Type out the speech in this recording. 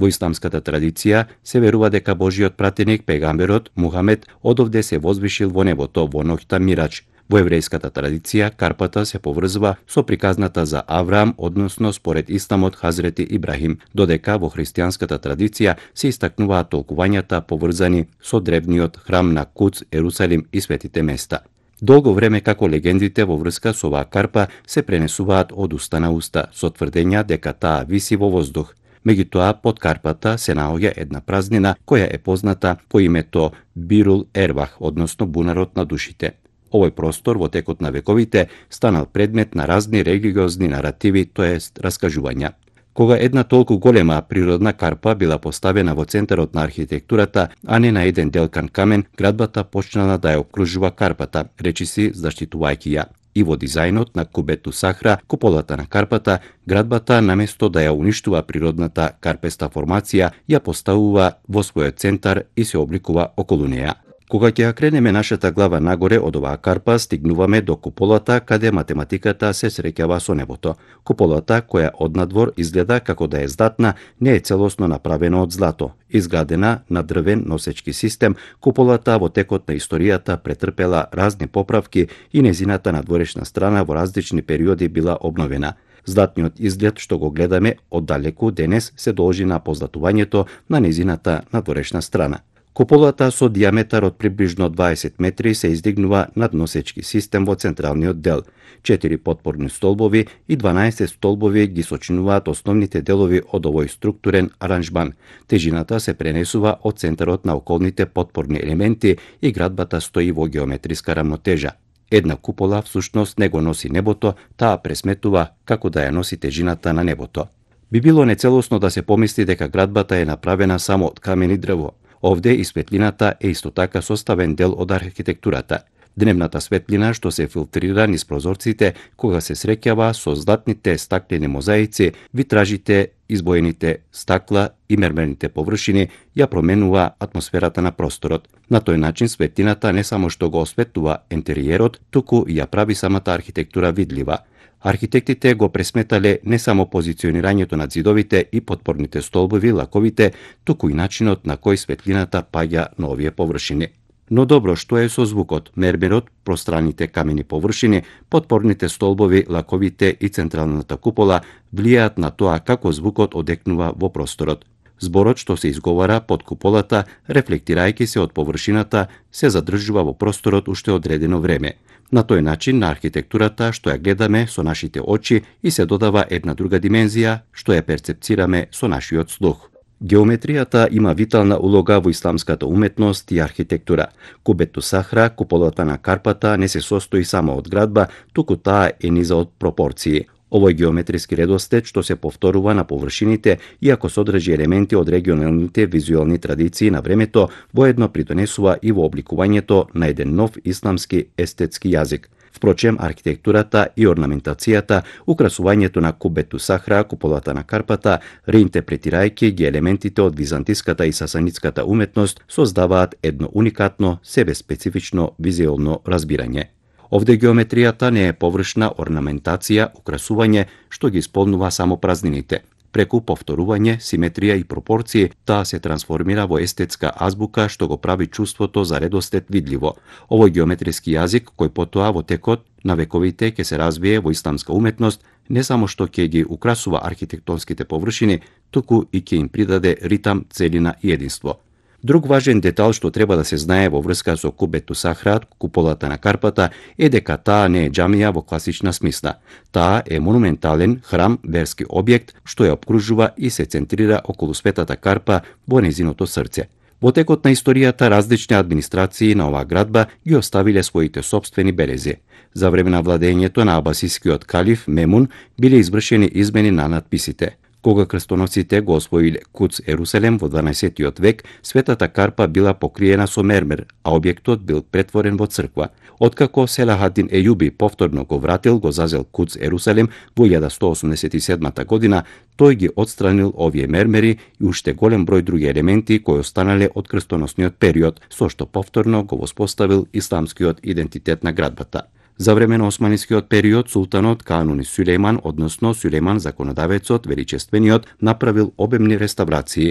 Во исламската традиција се верува дека Божиот пратеник пегамберот Мухамед одовде се возвишил во небото во ноќта Мирач. Во еврејската традиција карпата се поврзува со приказната за Авраам, односно според исламот Хазрети Ибрахим, додека во христијанската традиција се истакнуваат толкувањата поврзани со древниот храм на Куц, Ерусалим и светите места. Долго време како легендите во врска со оваа карпа се пренесуваат од уста на уста, со тврдења дека таа виси во воздух. Меѓутоа, под карпата се наоѓа една празнина која е позната по името Бирул Ервах, односно бунарот на душите. Овој простор во текот на вековите станал предмет на разни религиозни наративи, тоест раскажувања. Кога една толку голема природна карпа била поставена во центарот на архитектурата, а не на еден делкан камен, градбата почнала да ја окружува карпата, речиси заштитувајќи ја. И во дизајнот на Кубету Сахра, куполата на карпата, градбата наместо да ја уништува природната карпеста формација, ја поставува во својот центар и се обликува околу неја. Кога ќе ја кренеме нашата глава нагоре од оваа карпа, стигнуваме до куполата каде математиката се среќава со небото. Куполата, која однадвор изгледа како да е здатна, не е целосно направена од злато. Изградена на дрвен носечки систем, куполата во текот на историјата претрпела разни поправки и незината надворешна страна во различни периоди била обновена. Златниот изглед што го гледаме оддалеку денес се должи на позлатувањето на незината надворешна страна. Куполата со диаметар од приближно 20 метри се издигнува над носечки систем во централниот дел. 4 потпорни столбови и 12 столбови ги сочинуваат основните делови од овој структурен аранжман. Тежината се пренесува од центарот на околните потпорни елементи и градбата стои во геометриска рамнотежа. Една купола всушност не го носи небото, таа пресметува како да ја носи тежината на небото. Би било нецелосно да се помисли дека градбата е направена само од камен и дрво. Овде и светлината е исто така составен дел од архитектурата. Дневната светлина што се филтрира низ прозорците кога се среќава со златните стаклени мозаици, витражите, избоените стакла и мермерните површини ја променува атмосферата на просторот. На тој начин светлината не само што го осветлува интериерот, туку и ја прави самата архитектура видлива. Архитектите го пресметале не само позиционирањето на ѕидовите и потпорните столбови, лаковите, туку и начинот на кој светлината паѓа на овие површини. Но добро, што е со звукот? Мермерот, пространите камени површини, потпорните столбови, лаковите и централната купола влијаат на тоа како звукот одекнува во просторот. Зборот што се изговара под куполата, рефлектирајќи се од површината, се задржува во просторот уште одредено време. На тој начин на архитектурата што ја гледаме со нашите очи и се додава една друга димензија што ја перцепцираме со нашиот слух. Геометријата има витална улога во исламската уметност и архитектура. Кубету Сахра, куполата на карпата, не се состои само од градба, туку таа е низа од пропорции. Овој геометриски редослед што се повторува на површините, иако содржи елементи од регионалните визуелни традиции на времето, воедно придонесува и во обликувањето на еден нов исламски естетски јазик. Впрочем, архитектурата и орнаментацијата, украсувањето на Кубету Сахра, куполата на карпата, реинтерпретирајќи ги елементите од византиската и сасанитската уметност, создаваат едно уникатно, себеспецифично визуелно разбирање. Овде геометријата не е површна орнаментација, украсување, што ги исполнува само празнините. Преку повторување, симетрија и пропорции, таа се трансформира во естетска азбука што го прави чувството за редослед видливо. Овој геометриски јазик, кој потоа во текот на вековите ќе се развие во исламска уметност, не само што ќе ги украсува архитектонските површини, туку и ќе им придаде ритам, целина и единство. Друг важен детал што треба да се знае во врска со Кубету Сахра, куполата на карпата, е дека таа не е џамија во класична смисла. Таа е монументален храм, верски објект што ја обкружува и се центрира околу светата карпа во незиното срце. Во текот на историјата различни администрации на оваа градба ги оставиле своите сопствени белези. За време на владењето на абасискиот калиф Мемун биле извршени измени на надписите. Кога крстоносците го освоиле Куц Ерусалим во 12 век, светата карпа била покриена со мермер, а објектот бил претворен во црква. Откако Селахадин Ејуби повторно го вратил, го зазел Куц Ерусалим во 1187 година, тој ги отстранил овие мермери и уште голем број други елементи кои останале од крстоносниот период, со што повторно го воспоставил исламскиот идентитет на градбата. За време на османискиот период султанот Кануни Сулејман, односно Сулејман законодавецот, величествениот, направил обемни реставрации.